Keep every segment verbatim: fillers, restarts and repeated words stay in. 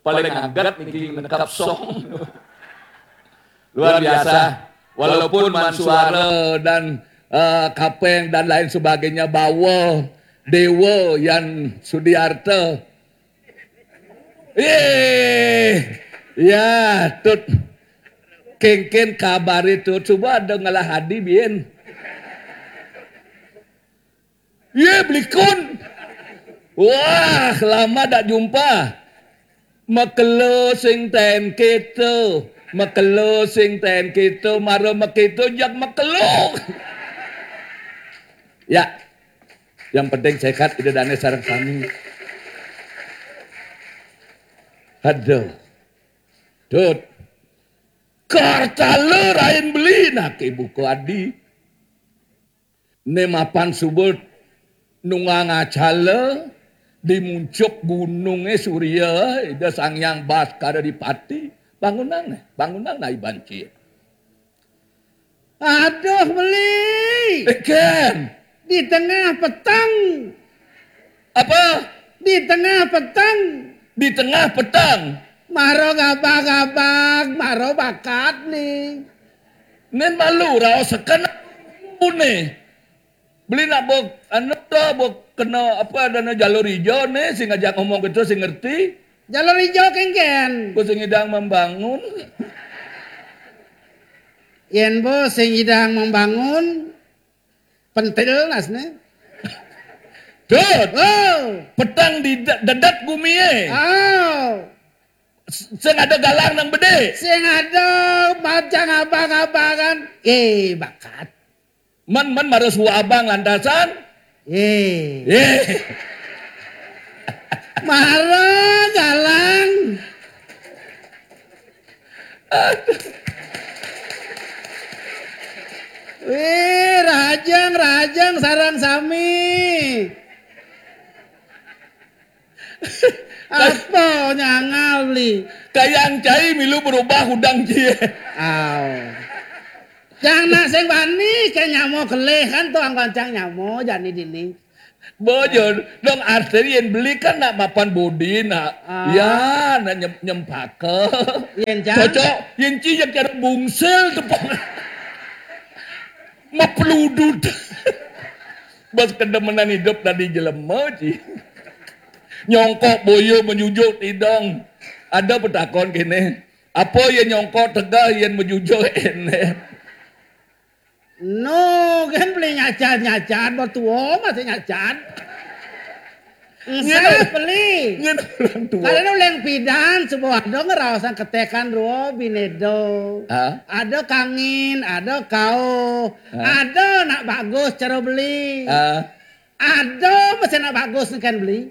Paling anggat niki nekap song. Luar biasa. Walaupun Mansuara dan eh, Kapeng dan lain sebagainya bawa Dewa Yan Sudiarta. Eh, ya, Tut. Kengken kabar itu. Coba ada ngalah hadi, Bien. Ye, belikun. Wah, lama tak jumpa. Makelo sing ten kita. Makelo sing ten kita. Mara makita jak makelo. Ya, yang penting sehat, ida dane sareng sami. Aduh. Dut. Kartala rain beli nak ibu ko adi. Ne mapan subut nungang acala di muncuk gununge Surya, ida Sang Hyang Baskara Dipati. Bangunang ne, bangunang nai banci. Aduh, beli. Eken. Di tengah petang. Apa? Di tengah petang. Di tengah petang. Maro gabag-gabag, maro bakat nih. Nen malu raosaken ne. Beli nak bok anu to, bok kena apa adane jalur ijo ne sing ngajak ngomong gitu sing ngerti. Jalur ijo kengken. Ku sing idang membangun. Yen bo sing idang membangun, pentil nasne. Dut. Oh. Petang di de- dedet gumie. Oh. Sing ada galang nang bede. Sing ada macam abang-abangan. Eh, bakat. Men men marus abang lantasan. Eh. Eh. Mara galang. Wih, rajang, rajang, sarang sami. Apa nyangal beli? Kayang cai milu berubah udang cie. Aw. Cang nak sing bani ke nyamo kelih kan tuang kancang nyamo jani dini. Bojor, dong arteri yen beli kan nak mapan bodi nak. Ah. Ya, nak nyem, nyempaka. Yen cang? Cocok, yen ci yang cara bungsil tepung. Mepeludut. Bas kedemenan hidup tadi jelema ci. Nyongkok boyo menyujuk tidong. Ada petakon kene. Apa ya nyongkok tegah yen menyujuk ene? No, kan beli nyacat-nyacat, bertua masih nyacat. Ngin Enggak beli. Ngin orang tua. Kalau nu leng pidan, sebuah ada ngerawasan ketekan ruo binedo. Ah? Ada kangin, ada kau, ah? Ada nak bagus cara beli. Ah? Ada mesti nak bagus kan beli.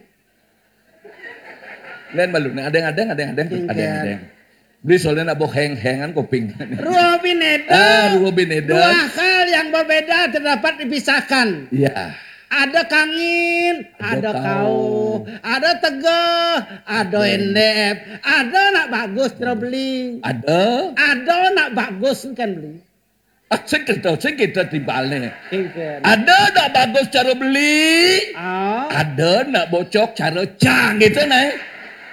Lain malu, nih adeng-adeng, adeng-adeng, adeng-adeng. Beli soalnya nak bawa heng-hengan kuping. Ruo bineda. Ah, ruo bineda. Dua hal yang berbeda terdapat dipisahkan. Iya. Ada kangin, ada kau, ada tegeh, ada endep, ada nak bagus terus beli. Ada. Ada nak bagus kan beli. Ah, sing kita, sing kita timbale. Ada nak bagus cara beli. Ah. Ada nak bocok cara cang gitu nah.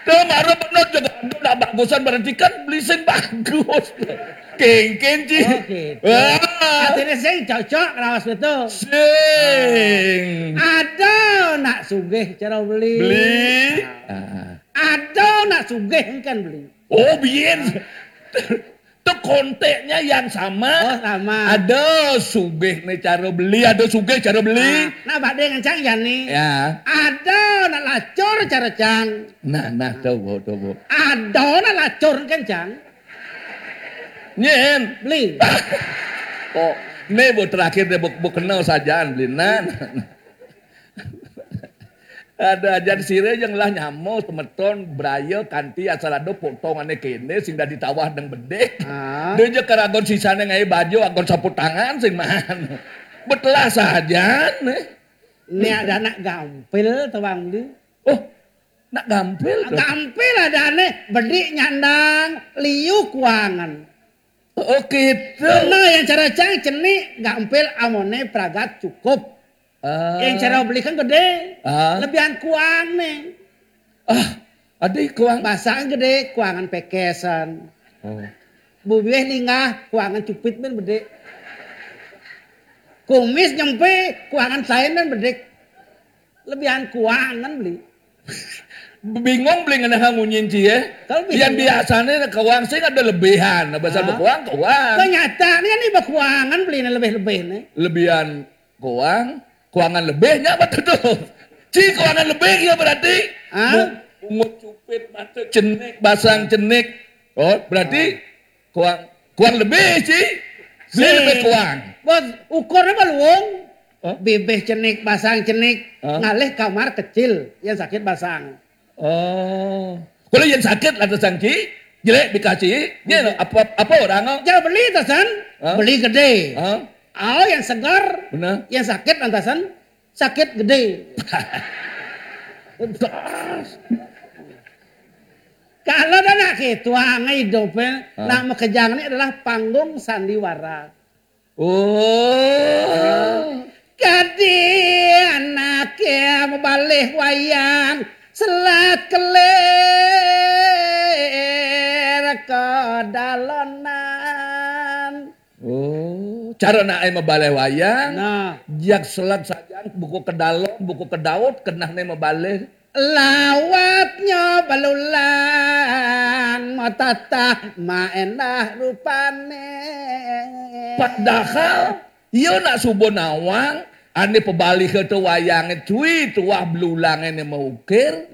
Tuh baru benar juga ada nak bagusan berarti kan beli sing bagus. Kengken ci. Oh, gitu. Wah. Artinya sing cocok rawas betul. Sing. Ada nak sugih cara beli. Beli. Ah. Ada nak sugih kan beli. Oh, bien. Tuh konteksnya yang sama. Oh, sama. Ada sugih nih cara beli, ada sugih cara beli. Ah, nah, bade ngencang ya nih. Ya. Ada nak lacur cara cang. Nah, nah, tuh, Bu, tuh, Bu. Ada nak lacur kan cang. Nyen. Beli. Oh, nih, Bu, terakhir deh, Bu, Bu kenal sajaan beli. Nah, nah, nah. Ada ajan sire yang lah nyamo semeton braya kanti asal ada potongane kene sing dadi tawah deng bedek. Ah. Dia je karagon sisane ngai baju agon sapu tangan sing man. Betelah sajan eh. Ini ada anak gampil tuang beli. Oh, nak gampil tuh. Gampil ada ane bedik nyandang liu kuangan. Oh, gitu. Karena yang cara cang cenik gampil amone pragat cukup. Ah. Yang cara beli kan gede. Ah. Lebihan kuang nih. Ah, adi kuang. Basang gedé, kuangan pékésan. Oh. Bubiéh linggah, kuangan cupit mén bedé. Kumis nyempé, kuangan saén mén bedé. Lebihan kuangan beli. Bingung beli ngenah ngunyin ci, ya. Kalau bingung. Yang biasanya kuang sing ada lebihan. Nah, bahasa ah. Bekuang, kuang. Kenyataannya nih bekuangan beli lebih-lebih nih. Lebihan kuang, kuangan lebihnya apa tuh? Ci kuangan lebih ya berarti. Ah? Bungut cupit, mata cenik, basang cenik. Oh, berarti ah. Kuang, kuang lebih, ci. Beli lebih kuang. Bos, ukurnya baluung. Hah? Bibih cenik, basang cenik, hah? Ngalih kamar kecil, yang sakit basang. Oh. Kalau yang sakit lah tersangki, jelek dikasih, dia apa apa orang. Jangan beli tasan, hah? Beli gede. Hah? Oh, yang segar, benar. Yang sakit lantasan sakit gede. Kalau dah nak gitu, ah, hidup, eh. Ah. Nak makejang ni adalah panggung sandiwara. Oh. Kadi anaknya mabalih wayang selat kelir ke dalonan. Oh, cara nak ai mabalih wayang. Nah. Jak selat sajan, buku ke dalon, buku ke daud, kenah ne mabalih. Lawatnya balulang, matatah maendah rupane. Padahal, iya nak suba nawang, ane pabalih ke tu wayange cui, tuah belulange ne maukir.